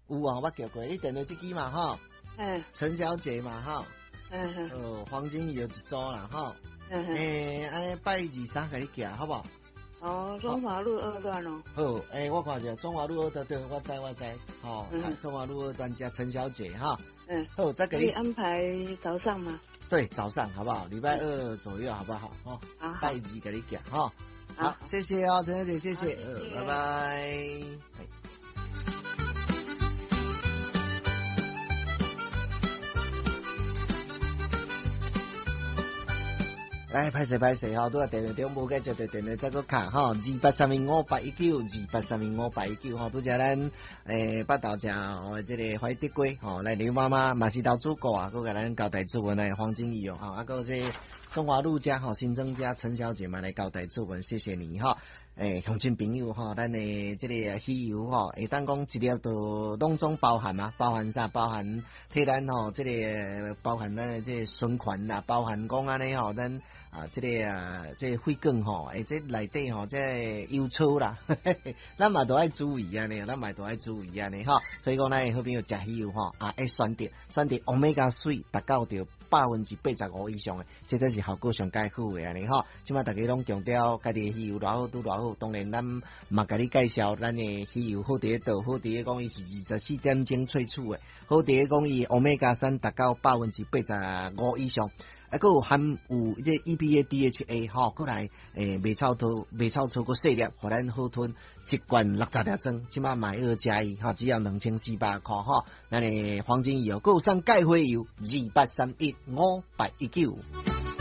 有啊，我叫過，你電話這支嘛吼？嗯。陳小姐嘛吼？嗯嗯。哦，黃金魚有一組啦吼。嗯嗯。按呢拜二三共你寄，好無？哦，中華路二段哦。好，我看一下中華路二段，對，我知我知，吼，中華路二段遮陳小姐哈。好，再給你安排早上嗎？對，早上好不好？禮拜二左右好不好？吼，拜二共你寄，吼。好，謝謝哦，陳小姐，謝謝，拜拜。來，歹勢歹勢吼，拄仔電話中無解接著電話再閣敲吼，28315819，28315819吼，拄才咱北投遮吼，這个懷德街吼，來劉媽媽嘛是投主顧啊，閣共咱交代注文來黃金魚哦，吼，啊，閣這中華路遮吼，新莊遮陳小姐嘛來交代注文，謝謝你吼。鄉親朋友吼，咱的這個魚油吼，會當講一粒都攏總包含啊，包含啥？包含替咱吼，這個包含咱的這個循環啦，包含講按呢吼，咱啊這個啊這個血管吼，這內底吼，這個油粗啦，咱嘛都愛注意按呢，咱嘛都愛注意按呢吼。所以講，咱的好朋友食魚油吼，啊，愛選擇選擇 Omega 3達到著85%以上的，這才是效果上蓋好的按呢吼。這馬逐家攏強調家己的魚油偌好，拄偌好。當然，咱嘛共你介紹咱的魚油好佇咧佗，好佇咧講伊是24點鐘萃取的，好佇咧講伊 Omega 3達到85%以上，啊，閣有含有這 EPA、DHA 吼，閣來袂臭吐，袂臭粗，閣細粒，予咱好吞，一罐60粒裝，這馬買二加一，吼，只要2400箍吼。咱的黃金魚油，閣有送鈣花油，28315819。